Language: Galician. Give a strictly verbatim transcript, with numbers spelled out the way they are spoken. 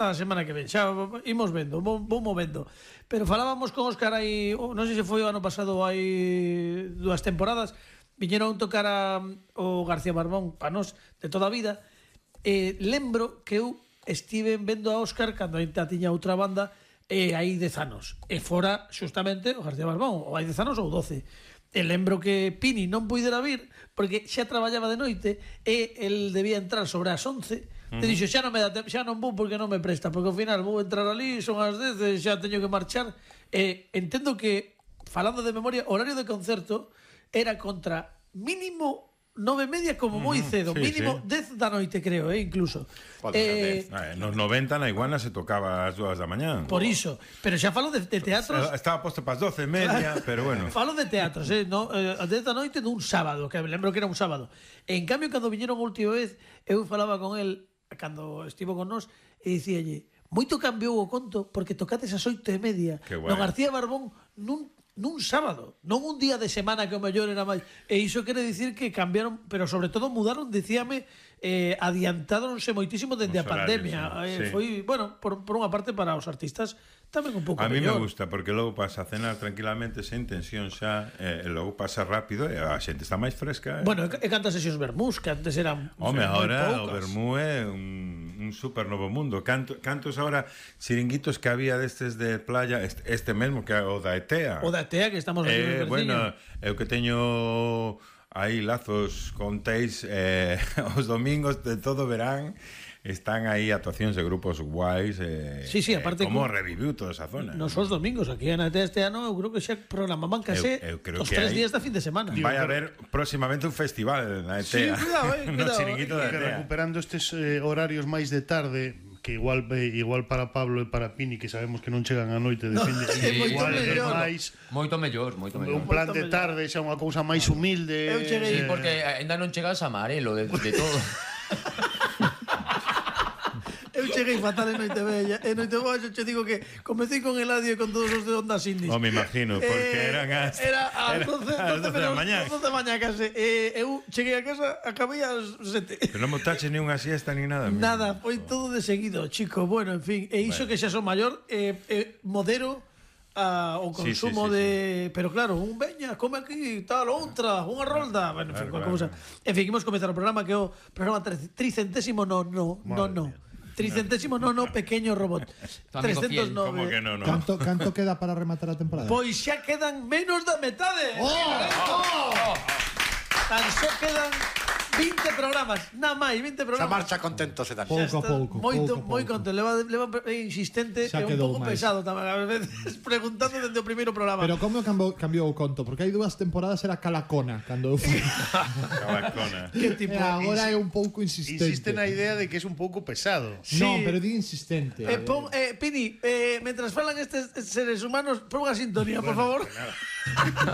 a semana que ven. Xa imos vendo, vou, vou movendo. Pero falábamos con Óscar aí, non sei se foi o ano pasado, hai dúas temporadas, viñeron tocar a, o García Barbón pa nós de toda a vida. Eh, lembro que eu estive vendo a Óscar cando ainda tiña outra banda e hai dez anos. E fora xustamente o García Barbón, ou hai dez anos ou doce. E lembro que Pini non puidera vir porque xa traballaba de noite e el debía entrar sobre as once. Uh-huh. E dixo, xa non me dá tempo, xa non vou porque non me presta, porque ao final vou entrar ali, son as dez, e xa teño que marchar. E entendo que, falando de memoria, o horario de concerto era contra mínimo nove e media como moi cedo, sí, mínimo sí. dez da noite, creo, eh, incluso. Eh, eh, nos noventa na Iguana se tocaba ás dúas da mañá. Por iso, pero xa falo de, de teatros. Estaba posto para as doce e media, pero bueno. Falo de teatros, eh, no, eh, a dez da noite dun sábado, que lembro que era un sábado. En cambio, cando viñeron a última vez, eu falaba con el, cando estivo con nós, e dicíalle, moito cambiou o conto, porque tocates as oito e media. No García Barbón, nun nun sábado, non un día de semana que o mellor era máis. E iso quere dicir que cambiaron, pero sobre todo mudaron, dicíame, eh, adiantáronse moitísimo dende a pandemia. Horarios, eh, sí. Foi, bueno, por, por unha parte para os artistas tamén un pouco mellor. A mí mellor. me gusta, porque logo pasa a cenar tranquilamente sen tensión xa, e eh, logo pasa rápido e a xente está máis fresca. Eh. Bueno, e cantas sesións vermús, que antes eran Home, ahora o vermú é un, un super novo mundo. Canto, cantos ahora chiringuitos que había destes de playa, este, este mesmo que é o da Etea. O da Etea, que estamos aquí eh, no bueno, eu que teño aí lazos con Teis eh, os domingos de todo verán están aí actuacións de grupos guais eh, sí, sí, aparte eh, como con... reviviu toda esa zona. Nos os domingos aquí en Etea este ano eu creo que xa programaban case eu, eu os tres días da fin de semana. Vai a haber próximamente un festival na Etea. Sí, cuidado, eh, cuidado. No chiringuito eh, da Etea. Recuperando estes eh, horarios máis de tarde, que igual eh, igual para Pablo e para Pini, que sabemos que non chegan a noite de fin de no, sí, igual mellor. máis moito mellor, moito mellor. Un plan de tarde xa unha cousa máis humilde. Eu cheguei, sí, porque aínda non chegas a Marelo de, de todo. Eu cheguei fatal en Noite Bella. En Noite Bella che digo que comecei con Eladio e con todos os de Onda Sindis. Non me imagino, porque eh, eran as Era ás doce da mañá. doce da mañá case. Eh, eu cheguei a casa, acabei ás sete. Pero non montache ni unha siesta ni nada. Nada, foi todo de seguido, chico. Bueno, en fin, e iso bueno. Que xa son maior, eh, eh, modero a, o consumo sí, sí, sí, de... Sí. Pero claro, un veña, come aquí, tal, outra, unha rolda. Bueno, en fin, claro, claro. En fin, imos comezar o programa, que é o programa tricentésimo, no, no, no, no. Tricentésimo nono pequeño robot. trescentos nove. Como que no, no? Canto, canto queda para rematar a temporada? Pois xa quedan menos da metade. Oh! Oh! Tan só quedan vinte programas, nada máis, vinte programas. Xa marcha contento se dan. Pouco a pouco. Moito, pouco, moi pouco. contento. Leva, leva insistente e un pouco máis pesado tamén, a veces preguntando dende o primeiro programa. Pero como cambiou, cambiou o conto? Porque hai dúas temporadas era Calacona cando eu fui. Calacona. Que tipo? E agora é un pouco insistente. Insiste na idea de que es un pouco pesado. Sí. Non, pero di insistente. Eh, pon, eh, Pini, eh, mentras falan estes seres humanos, pon unha sintonía, por favor.